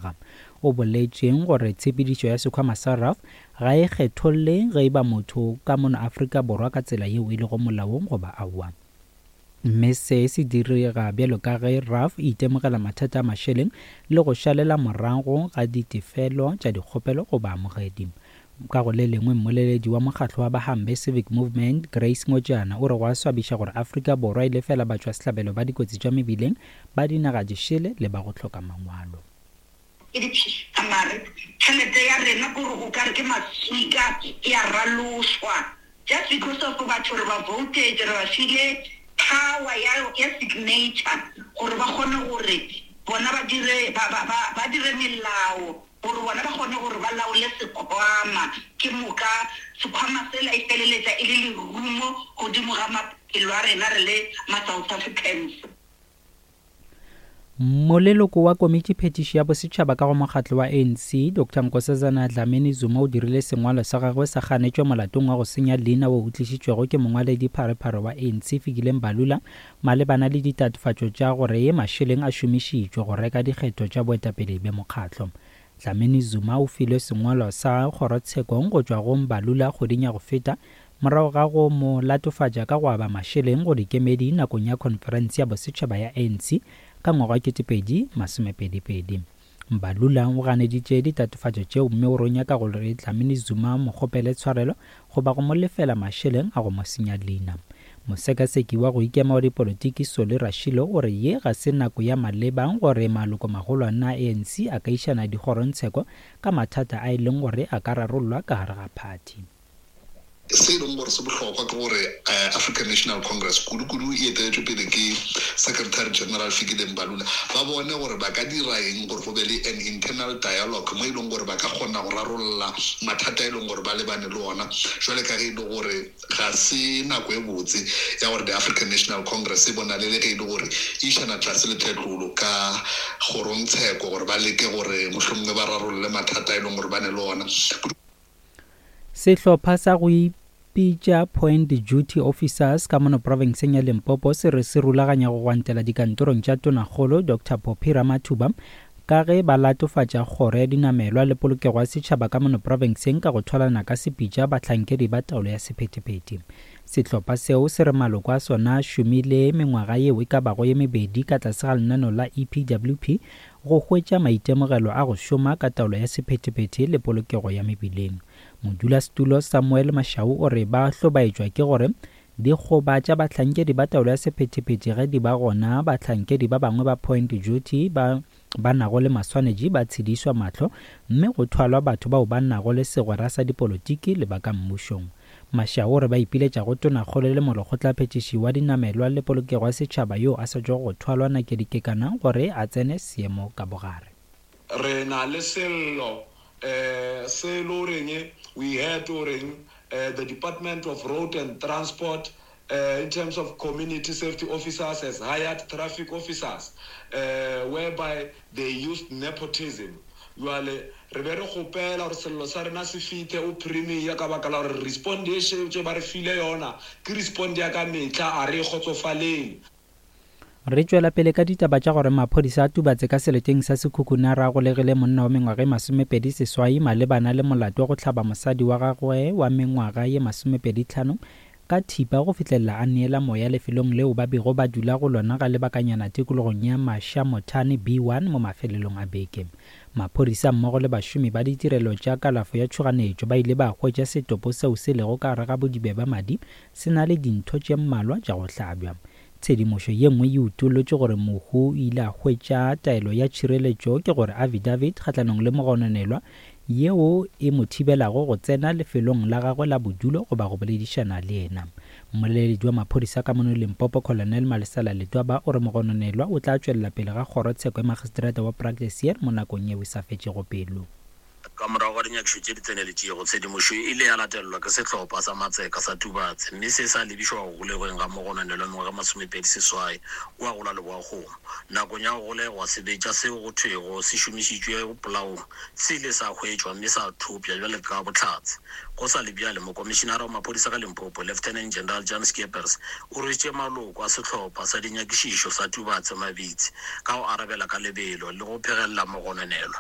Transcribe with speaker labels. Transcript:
Speaker 1: naga. O boletše gore tshepedišo ya sekhwama sa RAF ga e kgetholle ge e ba motho ka mono Afrika Borwa ka tsela yeo e lego molaong goba aowa. Mme se se direga bjalo ka ge RAF e itemogela mathata a mašeleng le go šalela morago ga ditefelo tša dikgopelo go baamogedi. Ka go le lengwe, mmoleledi wa mokgatlo wa Bahambe Civic Movement, Grace Ngojana, o re go a swabiša gore Afrika Borwa e lefela batšwasehlabelo ba dikotsi tša mebileng ba dinaga dišele le ba go hloka mangwalo.
Speaker 2: Ke dipshika mare tšhelete ya rena kore o kare ke maswika e a ralošwa just because of batho re ba votetše re ba file power ya ya signature gore ba kgone gore bona ba dire ba ba ba ba dire melao gore bona ba kgone gore ba laole sekhwama ke moka sekhwama sela e feleletša e le lerumo godimo ga maphelo a rena re le ma South Africans.
Speaker 1: Moleloko wa Komitiphethiši ya Bosetšhaba ka go mokgatlo wa ANC, Doctor Nkosazana Dlamini Zuma o dirile sengwalo sa gagwe sa kganetšo molatong wa go senya leina wo o tlišitšwego ke mongwaledi pharephare wa ANC Fikile Mbalula malebana le ditatofatšo tša gore mašeleng a šomišitšwe go reka dikgetho tša boetapele bja mokgatlo. Dlamini Zuma o filwe sengwalo sa kgorotshekong go tšwa go Mbalula kgweding ya go feta morago ga go mo latofatša ka go aba mašeleng go dikemedi nakong ya khonferense ya bosetšhaba ya ANC ka ngwaga wa 2022. Mbalula o ganeditše ditatofatšo tšeo mme o re o nyaka gore Dlamini Zuma a mo kgopele tshwarelo goba go mo lefela mašeleng a go mo senya leina. Mosekaseki wa go ikema wa dipolotiki Solly Rashilo o re ye ga se nako ya maleba gore malokomagolwane a ANC a ka išana dikgorongtsheko ka mathata a e leng gore a ka rarollwa ka gare ga phathi.
Speaker 3: Se e leng gore se bohlokwa ke gore African National Congress, kudu-kudu e eteletšwe pele ke Secretary General Fikile Mbalula, ba bone gore ba ka dira eng gore go be le an internal dialogue mo e leng gore ba ka kgona go rarolla mathata e leng gore ba lebane le ona jwale ka ge e le gore ga se nako e botse ya gore the African National Congress e bonale le ge e le gore e išana tlase le tlhetlolo ka kgorongtsheko gore ba leke gore mohlomongwe ba rarolle mathata e leng gore ba ne le ona.
Speaker 1: Sehlopha sa go ipitša Point Duty Officers ka mono profenseng ya Limpopo se re se rulaganya go gwantela dikantorong tša Tonakgolo Doctor Phophi Ramathuba ka ge ba latofatša kgoro ya dinamelwa le polokego ya setšhaba ka mono profenseng ka go thwalana ka sepitša bahlankedi ba taolo ya sephethephethe. Sehlopha seo se re maloko a sona a šomile mengwaga yeo e ka bago ye mebedi ka tlase ga lenaneo la EPWP Go hwetša maitemogelo a go šoma ka taolo ya sephethephethe le polokego ya mebileng. Modulasetulo Samuel Mashau o re ba hlobaetšwa ke gore dikgoba tša bahlankedi ba taolo ya sephethephethe ge di ba gona bahlankedi ba bangwe ba point duty ba ba nago le maswanetši ba tshedišwa mahlo mme go thwalwa batho bao ba nago le segwera sa dipolotiki le ba ka mmušong. Mashao o re ba ipiletša go Tonakgolo le Molekgotlaphethiši wa Dinamelwa le Polokego ya Setšhaba yo a sa tšwago go thwalwa Nakedi Kekana gore a tsene seemo ka bogare.
Speaker 4: Re na le sello se e le goreng we heard goreng the Department of Road and Transport in terms of community safety officers has hired traffic officers whereby they used nepotism. Bjale re be re kgopela gore sello sa rena se fithe o Premier ka baka la gore respond ye šetše ba re file yona ke respond ya ka mehla, a re e kgotsofalele.
Speaker 1: Re tšwela pele ka ditaba tša gore maphodisa a Tubatse ka seleteng sa Sekhukhune a golegile monna wa mengwaga e 28 malebana le molato wa go hlaba mosadi wa gagwe wa mengwaga ye 25 ka thipa go fihlelela a neela moya lefelong leo ba bego ba dula go lona ga lebakanyana tikologong ya Mashamothane B1 mo mafelelong a beke. Maphodisa mmogo le bašomi ba ditirelo tša kalafo ya tšhoganetšo ba ile ba hwetša setopo seo se lego ka gare ga bodibe bja madi se na le dintho tše mmalwa tša go hlabja. Tshedimošo ye nngwe e utollotše gore mohu o ile a hwetša taelo ya tšhireletšo, ke gore affidavit, kgahlanong le mogononelwa yeo e mo thibelago go tsena lefelong la gagwe la bodulo goba go boledišana le yena. Mmoleledi wa maphodisa ka mono Limpopo, Colonel Malesela Letwaba o re mogononelwa o tla tšwelela pele ga kgorotsheko ya magistrata wa Praktiseer mo nakong yeo e sa fetšego pelo.
Speaker 5: Ka morago ga dinyakišo tše di tseneletšego, tshedimošo e ile ya latelelwa ke sehlopha sa matseka sa Tubatse mme se sa lebišwa go golegweng ga mogononelwa mengwaga 28 kua go la Leboakgomo. Nakong ya go golegwa, sebetša seo go thwego se šomišitšwe polaong se ile sa hwetšwa mme sa thopša bjale ka bohlatse. Go sa le bjale, Mokomišinara wa Maphodisa ka Limpopo, Lieutenant General Jan Scheepers, o rwešitše maloko a sehlopha sa dinyakišišo sa Tubatse mabitsi ka go arabela ka lebelo le go phegelela mogononelwa.